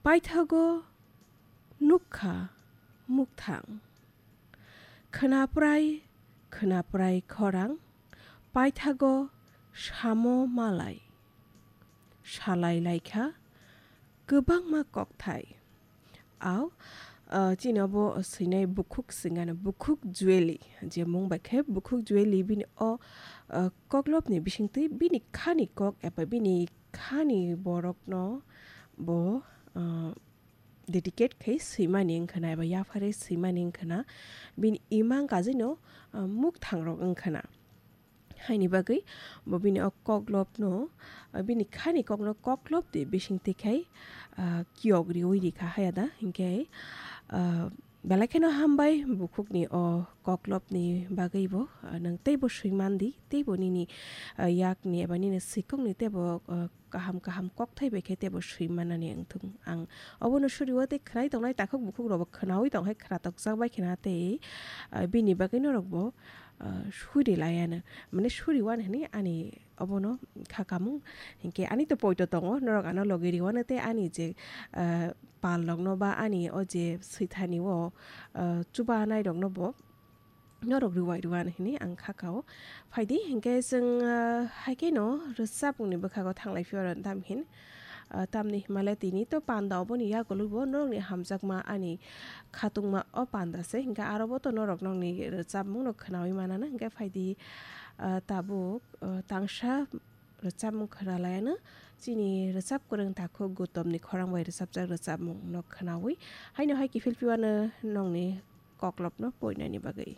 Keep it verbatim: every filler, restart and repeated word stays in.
Paithago nukha mukthang. Khwnaprai, khwnaprai khorang. Paithago samo malai. Salai laikha kwbangma kokthai. Au, ah, chini obo swinai bukhuk swngano, bukhuk Jueli, je mung bai khe bukhuk Jueli bini o, ah, koklopni bisingtwi bini khani kok eba bini khani borokno bo, ah, dedicate khai swimani wngkhana eba yapharwi swimani wngkhana, bini imang kajino, ah, mukthang rok wngkhana. Haini bagwi bo bini o koklopno, ah, bini khani kokno koklop de bisingtwi khai, ah, kiyok riwi rikha hayada. Hinkhe, ah, belai kheno hambai bukhukni o koklopni bagwi bo, ah, nwng teibo swimandi, teibo nini, ah, yakni eba nini swikokni teibo, ah, kaham kaham kokthai bai khe teibo swi manani wngthung. Ang obono suriwo tei khwnai tongnai takhuk bukhuk rokbo khwnawi tong hai khwnatok jak bai khwna tei, ah, bini bagwi norokbo, ah, suri laiano. Mane suriwan hwnwi ani obono kha kamung. Hinkhe ani to poito tongo, norok ano logi riwano tei ani je, ah, pal rokno ba ani o je swithani o, ah, chubanai rokno bo norok rwai rwano hwnwi ang kha kao. Phaidi, hinkhe chwng, ah, hai kheno rwchapmungni bwkhago thanglai phiyoro tam hin, ah, tamni himale tini to panda oboni yagulo bo norokni hamjakma ani khatungma o panda se, hinkhe aro bo to norok nokni rwchapmungno khwnawi manana. Hinkhe phaidi, ah, tabuk, ah, tangsa rwchapmung khwna laiano chini rwchap kwrwng takhuk Gautamni khorang bai rwchapjak rwchapmungno khwnawi haino hai kiphil phiwano nokni koklopno poinani bagwi.